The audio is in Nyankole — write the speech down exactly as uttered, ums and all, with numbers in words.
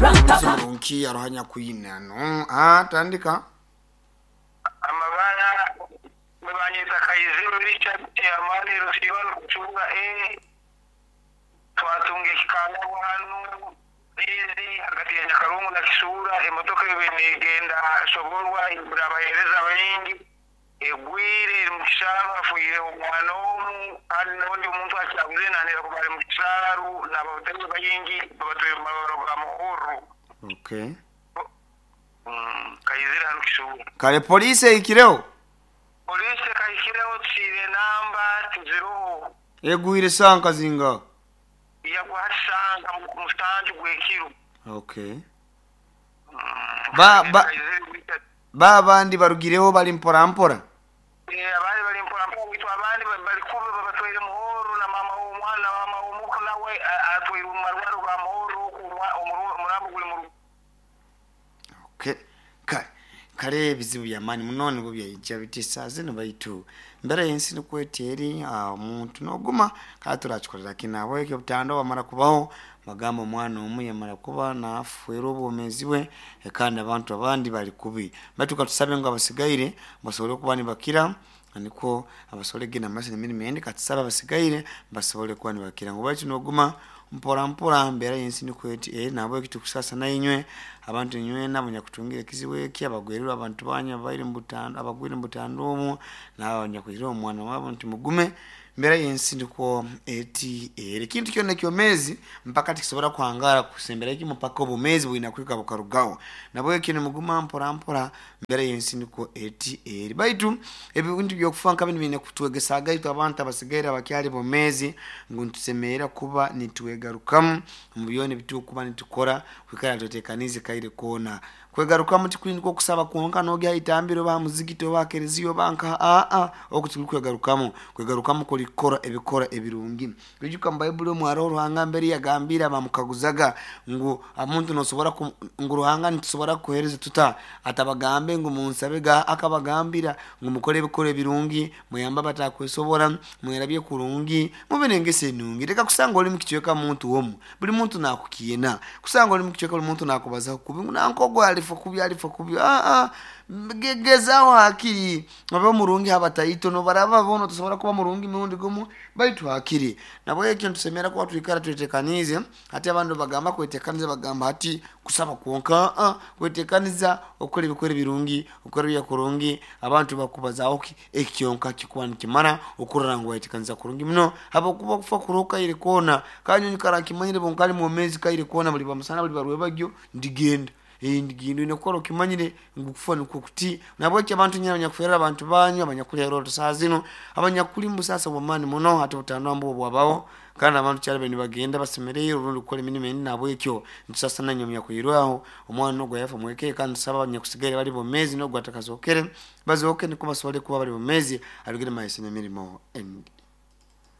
Murungi arohanya kwina no ah tandika Amabara banyita Kaiziro Richard Amani Rusibano kuchunga e twatunga ekikanda hanu bizi hagati ya Nyakarungu na Kisura emotoka ebe negenda soborwa ibura abahereza baingi egwire eri mu kisaaru hafuire omwana omu kandi n'ondi omuntu akyabuze nanira kuba ari mu kisaaru n'ababutebi baingi babatwire mu mabaro ga Muhuru. Okay. Mm, Kaizire hanu Kisura. Kale police eikireho? Polisi kahikireho tusiire namba tuziroho. Egwire sanka zinga? Yagwa hasanga mu musanju gw'ekiro. Okay. Mm, Ba- ba- Kaizire Richard. Ba abandi barugireho bali mpora mpora? Eh, abandi bali mpora mpora bitu abandi ba- bali kuba babatwaire Muhoro na mama w'omwana na mama w'omuko nawe a- atwaire mu marwaro ga Muhoro omurambo guli mu rugo. Okay. Kale kale ebizibu byamaani muno nibwo byaija biti saa zino baitu mbere y'ensi nikweta eri ah, omuntu noguma kale turakikorera kinabo ekyo obutando bamara kubaho bagamba omwana omu yamara kuba nafuera obwomezi bwe eh, kandi abantu abandi bali kubi baitu katusabe ngu abasigaire basobole okuba nibakira nikwo abasobole kugenda mumaiso n'emirimo endi katusabe abasigaire basobole kuba nibakira ngu baitu noguma mpora mpora mbeera y'ensi nikweti eri nabo ekitukusasa nainywe abantu inywena abanyakutungira ekizibu eki abagwererwe abantu banyu abaire mubutando abagwire mubutando omu nabo abanyakwire omwana wabo nti mugume mbeera y'ensi nikwo eti eri ekintu kyona ekyomezi mpaka tikisobora kuhangara kusembera ekimu mpaka obumezi bwina kwika bukarugaho nabo ekyo nimuguma mpora mpora mbeera y'ensi nikwo eti eri baitu ebintu byokufa nka binu biine kutwegesaga itwe abantu abasigaire abakyali bomezi ngu nitusemerera kuba nitwegarukamu omu byona ebitukuba nitukora kwikara twetekanize kaire koona kwegarukamu tikuri nikwo kusaba kwonka nogya itambiro oba muzigiti oba kereziya oba nka aa oku tikuri kwegarukamu kwegarukamu kuri kukora ebikora ebirungi ijuka mu bayibuli omu hariho Ruhanga mbere yagambire abamukaguzaga ngu omuntu nosobora ku- ngu Ruhanga nitusobora kukuhereza tuta atabagambe ngu munsabe ga akabagambira ngu mukore ebikora ebirungi muyambe abatakwesobora mwerabye kurungi mube n'engeso enungi reka kusanga oli mukicweka muntu omu buli muntu nakukiina kusanga oli mukicweka buli muntu nakubazaho kubi ngu nankogo alifa kubi alifa kubi aa gezaho hakiri obe murungi habataito nobaraba boona tosobora kuba murungi mirundi gumu baitu hakiri nabo ekyo nitusemera kuba twikara twetekanize hati abandi bagamba kwetekaniza bagamba hati kusaba kwonka aa kwetekaniza okukora ebikora ebirungi okukora ebya kurungi abantu bakubazaho ki ekyonka kikuba nikimara okurora ngu wayetekaniza kurungi muno habwokuba kufa kuroho kaire koona kandi nyikara nkimanyire bonkali mwomezi kaire koona buli bamusana buli barwebagyo ndigenda Eh, ndigenda oine kukora okimanyire ngu kufa nikwo kuti nabwekyo abantu nyina abanyakuferera abantu banyu abanyakulera saa zino abanyakuli mubusasa bwamaani muno hati obutandwa mbwo bwabaho kandi abantu kyali bari nibagenda basemereire orundi kukora emirimo endi nabwekyo nitusasa nanywe omunyakwirwaho omwana ogwo yafa mweke kandi tusaba abanyakusigaire bali bomezi nogwo atakazokere bazoke niko basobole kuba bali bomezi arugire maiso n'emirimo endi.